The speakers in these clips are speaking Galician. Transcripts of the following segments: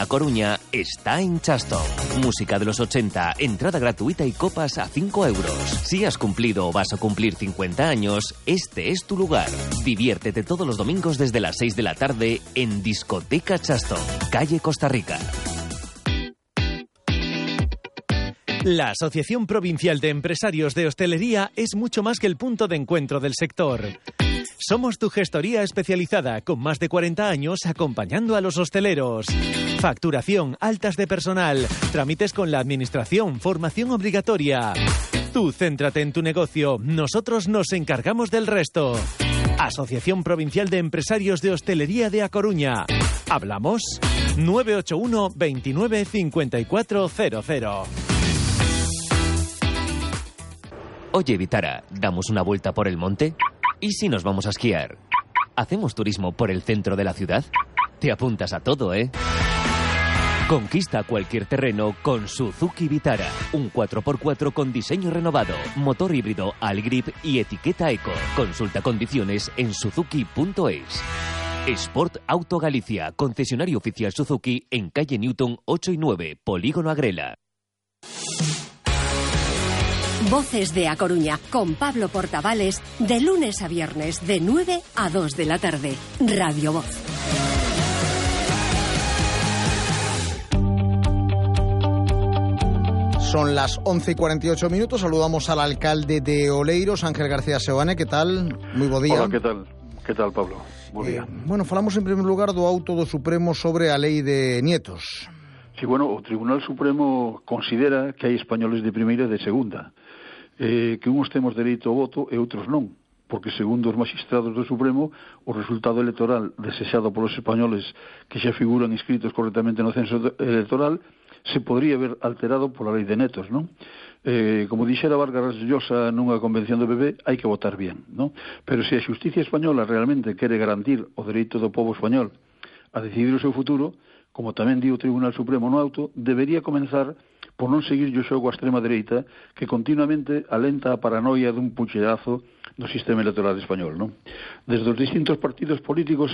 A Coruña está en Chaston. Música de los 80, entrada gratuita y copas a 5 euros. Si has cumplido o vas a cumplir 50 años, este es tu lugar. Diviértete todos los domingos desde las 6 de la tarde en Discoteca Chaston, calle Costa Rica. La Asociación Provincial de Empresarios de Hostelería es mucho más que el punto de encuentro del sector. Somos tu gestoría especializada, con más de 40 años acompañando a los hosteleros. Facturación, altas de personal, trámites con la administración, formación obligatoria. Tú céntrate en tu negocio, nosotros nos encargamos del resto. Asociación Provincial de Empresarios de Hostelería de A Coruña. ¿Hablamos? 981 29 5400. Oye, Vitara, ¿damos una vuelta por el monte? ¿Y si nos vamos a esquiar? ¿Hacemos turismo por el centro de la ciudad? Te apuntas a todo, ¿eh? Conquista cualquier terreno con Suzuki Vitara. Un 4x4 con diseño renovado, motor híbrido Allgrip y etiqueta Eco. Consulta condiciones en suzuki.es. Sport Auto Galicia, concesionario oficial Suzuki en calle Newton 8 y 9, Polígono Agrela. Voces de A Coruña, con Pablo Portavales, de lunes a viernes, de 9 a 2 de la tarde. Radio Voz. Son las 11:48. Saludamos al alcalde de Oleiros, Ángel García Seoane. ¿Qué tal? Muy bo día. Hola, ¿qué tal? ¿Qué tal, Pablo? Bo día. Bueno, falamos en primer lugar do auto do Supremo sobre a lei de nietos. Sí, bueno, o Tribunal Supremo considera que hai españoles de primeira e de segunda. Que uns temos dereito ao voto e outros non, porque segundo os magistrados do Supremo o resultado electoral desexado polos españoles que xa figuran inscritos correctamente no censo electoral se podría ver alterado pola lei de netos, non? Como dixera Vargas Llosa nunha convención do PP, hai que votar bien, non? Pero se a xusticia española realmente quere garantir o dereito do pobo español a decidir o seu futuro, como tamén di o Tribunal Supremo no auto, debería comenzar por non seguir o xogo a extrema dereita que continuamente alenta a paranoia dun pucherazo no sistema electoral español, non? Desde os distintos partidos políticos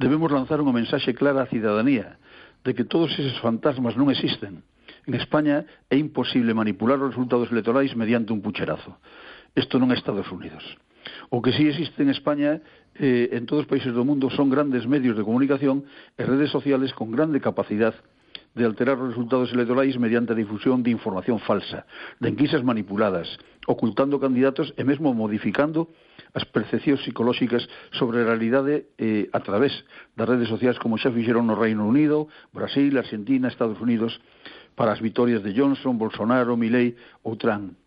debemos lanzar unha mensaxe clara á cidadanía de que todos eses fantasmas non existen. En España é imposible manipular os resultados electorais mediante un pucherazo. Isto non é Estados Unidos. O que sí existe en España en todos os países do mundo son grandes medios de comunicación e redes sociales con grande capacidade de alterar os resultados electorais mediante a difusión de información falsa, de enquisas manipuladas, ocultando candidatos e mesmo modificando as percepcións psicolóxicas sobre a realidade a través das redes sociais como xa fixeron no Reino Unido, Brasil, Argentina, Estados Unidos para as vitorias de Johnson, Bolsonaro, Milei ou Trump.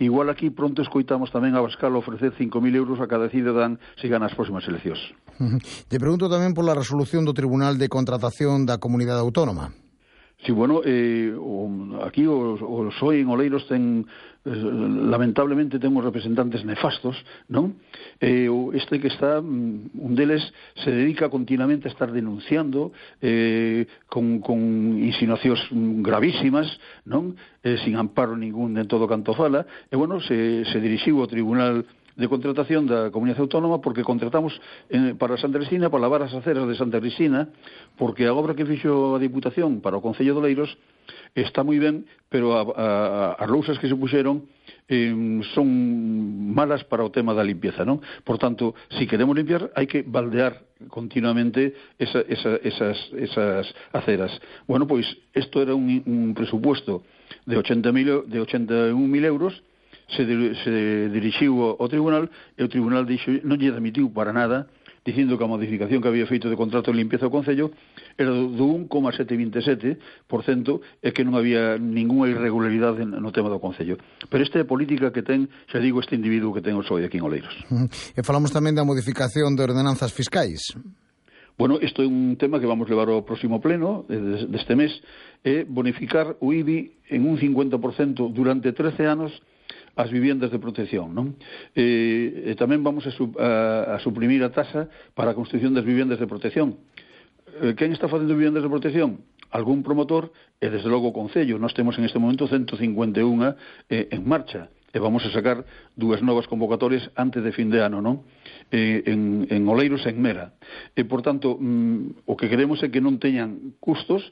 Igual aquí pronto escoitamos tamén a Abascal ofrecer 5.000 euros a cada cidadán se gana as próximas eleccións. Te pregunto tamén pola resolución do Tribunal de Contratación da Comunidade Autónoma. Sí, bueno, aquí o PSOE en Oleiros lamentablemente temos representantes nefastos, non? Este que está, un deles se dedica continuamente a estar denunciando con insinuacións gravísimas, non? Sin amparo ningún en todo canto fala, e bueno, se dirixiu ao Tribunal de Contratación da Comunidade Autónoma porque contratamos para Santa Cristina, para lavar as aceras de Santa Cristina, porque a obra que fixo a Diputación para o Concello de Oleiros está moi ben, pero as lousas que se puxeron son malas para o tema da limpieza, non? Por tanto, se queremos limpiar, hai que baldear continuamente esas aceras. Bueno, pois, isto era un presupuesto de 81.000 euros, se dirixiu ao tribunal e o tribunal dixo, non lle admitiu para nada, dicindo que a modificación que había feito de contrato de limpieza ao Concello era do 1,727% e que non había ninguna irregularidade no tema do Concello. Pero esta é a política que ten, xa digo, este individuo que ten o PSOE aquí en Oleiros. E falamos tamén da modificación de ordenanzas fiscais. Bueno, isto é un tema que vamos levar ao próximo pleno deste mes, é bonificar o IBI en un 50% durante 13 anos as viviendas de protección, non? E tamén vamos a suprimir a taxa para a construción das viviendas de protección. Quen está facendo viviendas de protección? Algún promotor e, desde logo, o Concello. Nós temos en este momento 151 en marcha. E vamos a sacar 2 novas convocatorias antes de fin de ano, non? En Oleiros e en Mera. E, por tanto, o que queremos é que non teñan custos